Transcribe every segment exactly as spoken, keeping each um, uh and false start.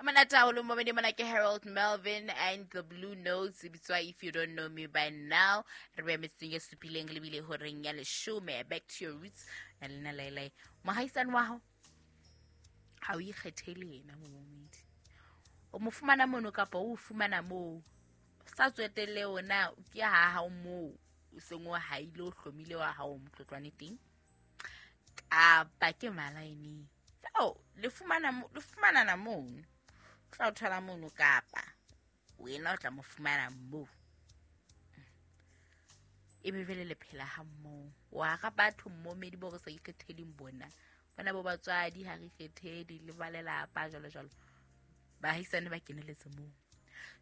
Monate haholo momedi mona ke Harold Melvin and the Blue Notes e bitswa If You Don't Know Me By Now. Re beya metsotsong e supileng lebile horeng ya leshome. Back to your roots na lena laelae. Mohaisane wa hao ha o ikgethele yena momedi. O mo fumana mono kapa o fumana moo. Sa tswetelle ona ke ha hao moo o seng o haile o hlomile wa hao motlotlwane teng. Kapa ke malaeneng. So, le fumana le fumanana mono. Tla o thola mono kapa wena o tla mo fumana moo. Ebe vele le phela ha mmoho. Wa ga batho mmomedi bo re sa ikgetheleng bona. Bona bo batswadi ha re ikgethele le ba lelapa jwalo jwalo. Bahaisane ba keneletse moo.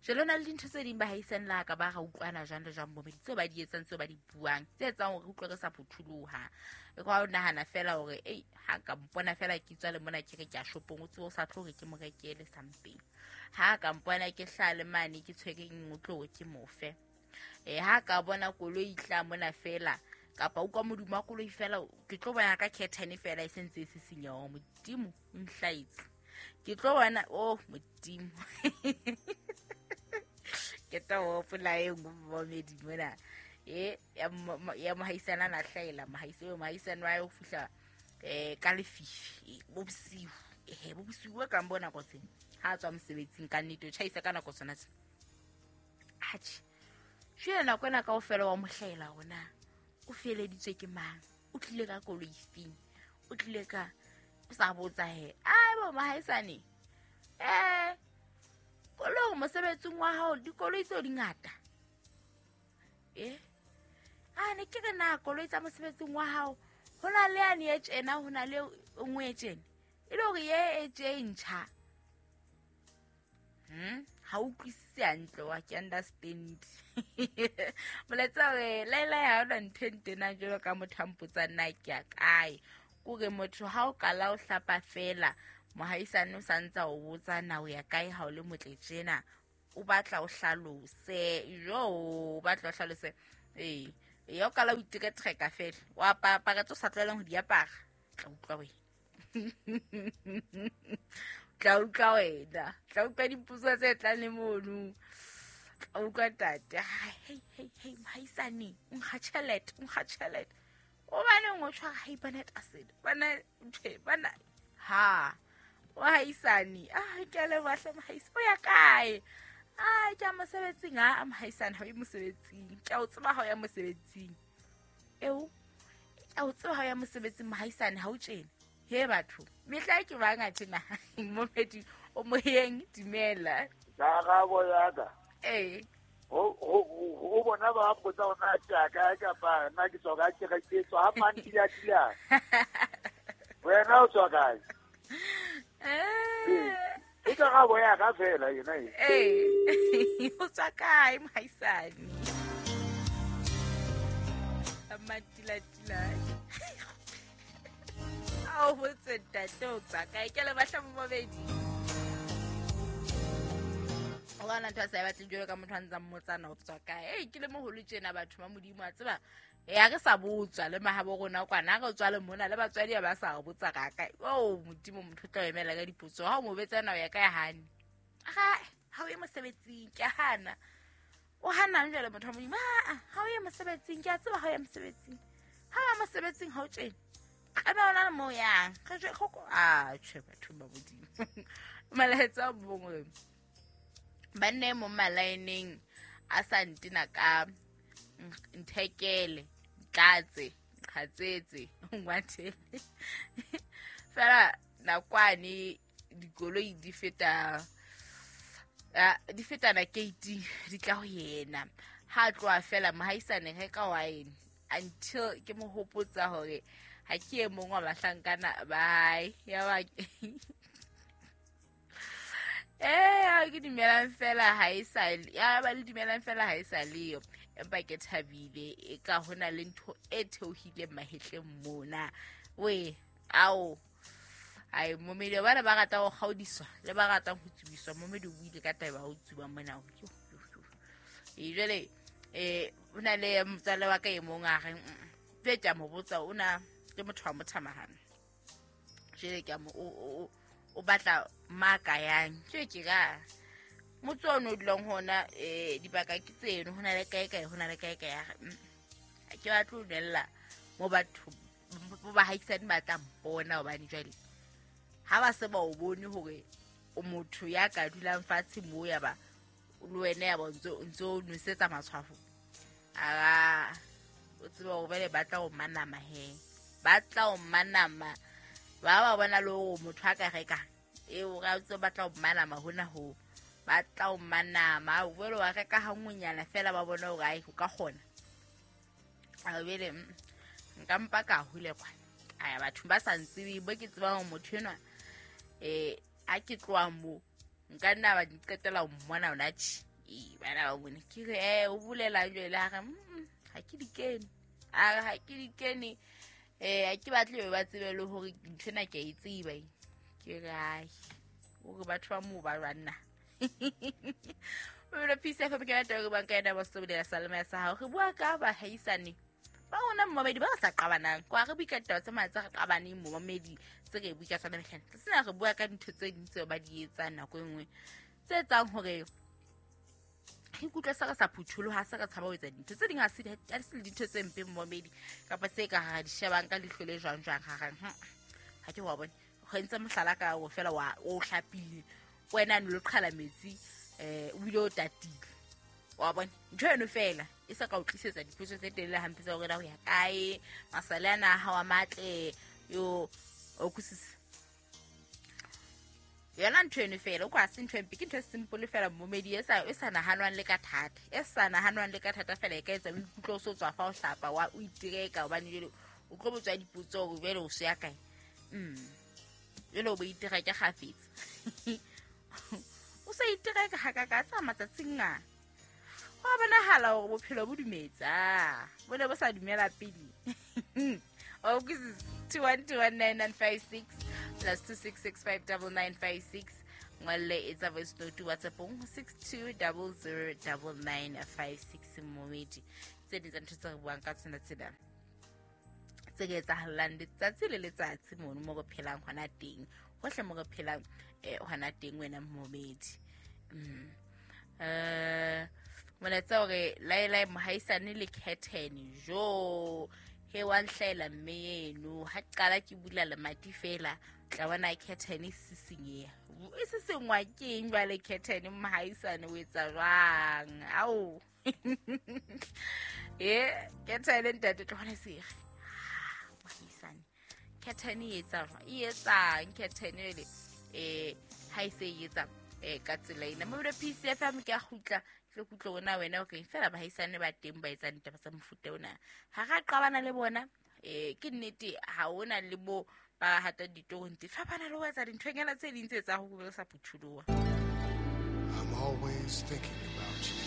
Jwale na le dintho tse ding bahaisane la ka ba ra utlwana jwang le jwang momedi tseo ba di etsang tseo ba di buang tse etsang hore re utlwe re sa phutholoha. E kwa o nahana fela hore ei ha ka mpona fela ke tswa le mona ke re ke a shopong o tsebe o sa tlo hore ke mo rekele something. Ha ka mpona ke hlale mane ke tshwere eng o tlo hore ke mofe. Eh ha ka bona koloi tla mona fela kapa o kwa modumo wa koloi fela ke tlo bona ka curtain fela e sentse e sisinya o modimo o nhlaitse. Ke tlo bona oh modimo. Ke tla hopola e nngwe momedi mona e ya ya mohaisana na hlaela mohaise mohaisana wa ho fihla eh ka lefifi bo bosiu eh bo bosiu ka mbona go tsena ha tswa mosebetsing ka nnete o tjhaisa ka nako tsona tse atjhe jwale nako ena kaofela wa mohlaela hona o feleditswe ke mang o tlile ka koloi feng o tlile ka o sa botsa he ai bo mohaisane eh koloi mosebetsing wa hao dikoloi tseo di ngata eh a ne ke re na koloi tsa mosebetsing wa hao ho na le yane e tjena ho na le nngwe e tjena e le hore ye e tje ntjha hm ha utlwisise hantle wa ke understand moletsa re laela ya ona ntho e ntena jwalo ka motho a mpotsa nna ke ya kae kore motho ha o kala o hlapa fela mohaisane o santsa o botsa na o ya kae ha o le motle tjena o batla o hlalose jo o batla o hlalose eh ya o kala o iteka treka fela o apara tso sa tlwaelang ho di apara tla utlwa wena tla utlwa wena tla utlwa dipotso tse tlang le mono tla utlwa tate hey hey hey mohaisane o nkga tjhelete o nkga tjhelete o baneng o tshwara hypernet acid bana nthe bana ha mohaisane ah ke a leboha hle mohaisane o ya kae ah ke a mosebetsing ah mohaisane ha o ye mosebetsing ke a o tseba ha o ya mosebetsing eo ke a o tseba ha o ya mosebetsing mohaisane ha o tjena he batho mehla ke bang a tjena momedi o moyeng dumela karabo ya ka eh ho ho ho bona ba mpotsa hore na ke ya kae kapa nna ke tswa kae ke re ke tswa ha mantila tila wena o tswa kae eh e karabo ya ka fela yena e eh o tswa kae mohaisane mantila tila a o botse ntate o tswa kae ke le batla momedi o gana ntho a sa e batleng jwalo ka motho a ntsang mmotsana o tswa kae ei ke le moholo tjena batho ba modimo a tseba e a re sa botswa le mahabo rona kwana re tswa le mona le batswadi ba sa re botsa ka kae o modimo motho o tla o emela ka dipotso ha o mo betsana o ya kae hane ha ha o ye mosebetsing ke a hana o hanang jwale motho wa modimo a ha o ye mosebetsing ke a tseba ha o ya mosebetsing ha o ya mosebetsing ha o tjena ebe ona le mo yang re jwe go a tjhe batho ba modimo malaetsa bongwe banne mo malaeneng a sa ntina ka nthekele tlatse qhatsetse ngwathele fela nakwane dikoloi di feta di fetana gate di tla ho yena ha tloha fela mohaisane re ka wine until ke mo hopotsa hore ha ke e mong wa bahlankana bye ya ba eh ha ke dumelang fela ha e sa ya ba le dumelang fela ha e sa leyo empa ke thabile e ka hona le ntho e theohileng mahetleng mona we ao ai momedi bana ba rata ho kgaodiswa le ba ratang ho tsubiswa momedi o buile ka taba ho tsuba mona e jwale eh o na le motswale wa ka e mong a reng tse ke a mo botsa o na ke motho wa mothamahane jwale ke a mo o o batla maka yang ke ke ka motse ono o dulang hona eh dibaka ke tseno hona le kae kae hona le kae kae ya ha ke batle ho nella mo batho bo ba haisane ba tla mpona hobane jwale ha ba se ba o bone hore o motho ya ka dulang fatshe mo ya ba le wena ya ba ntso ntso nwesetsa matshwafo a o tseba hore bale ba tla o manama he ba tla o manama ba ba bona le hore motho a ka reka e o ra tse ba tla o manama hona ho ba tla o manama o bolo wa reka ha nngwenyana fela ba bona hore ai o ka kgona a bele nka mpa ka hule kwa aya batho ba sa ntsebe bo ke tseba hore motho enwa eh a ke tloha mo nka nna ba qetela ho mmona ona tjhe e bana ba bone ke re eh o bulela jwale a re ha ke di kene a re ha ke di kene eh ha ke batle ba tsebe le hore ntho ena ke a e tseba ke re ai o re batho ba mo ba banna o re Peace F M ke batho ba banka ena ba sobelela salama ya sa hao re bua ka ba haisane ba rona mmamedi ba sa qabanang kwa re bua ka ditaba tse matsa re qabaneng momamedi tse re bua ka tsona mehleng sena re bua ka dintho tse ding tseo ba di etsang nako e nngwe tse etsang hore re ikutlwe se re sa phutholoha se re tshaba ho etsa dintho tse ding ha se ha se dintho tse mpe momamedi kapa tse ka ha di shebang ka leihlo le jwang jwang ha reng ha ke wa bone go entse mohlala ka o fela wa o hlapile wena no le qhala metsi eh o bile o tatile wa bona ntho eno fela e sa ka o tlisetsa dipotso tse telele hampe tsa hore na ho ya kae masale ana ha wa matle yo o kusisa yona ntho eno fela o kwa se ntho empe ke ntho e simple fela momedi e sa e sa nahanwang le ka thata e sa nahanwang le ka thata fela e ka etsa o ikutlwe o so tswa fa o hlapa wa o itireka hobane jwale o tlo botswa dipotso hore jwale o se ya kae mm jwale o bo itireka kgafetsa o sa itireka ha ka ka tsa matsatsing a ho bonahala hore bophelo bo dumetsa bo ne bo sa dumela pele o ke two one two one nine nine five six plus two six six five nine nine five six ngwalle etsa voice note WhatsApp-ong six two zero zero nine nine five six momedi tse ding tsa ntho tse re buang ka tsona tsena tse re etsahalang letsatsi le letsatsi mono mo re phelang hona teng hohle mo re phelang eh hona teng wena momedi mm eh molaetsa hore laelai mohaisane le curtain jo he wa nhlaela mme eno ha qala ke bula lemati fela tla bona curtain e sisinyeha e sisengwa ke eng jwale curtain mohaisane o etsa jwang ao e curtain ntate tlo bona sere mohaisane curtain e etsa jwang e etsang curtain ele eh ha e se e etsa eh ka tsela ena mobile P C F M ke a kgutla ke kutlo ona wena o reng fela bahaisane ba teng ba etsang ditaba tsa mofuta ona ha ra qabana le bona eh ke nnete ha ona le bo ba hata ditorong tse fapana le ho etsa dinthonyana tse ding tse tsa ho sa phutholoha. I'm always thinking about you.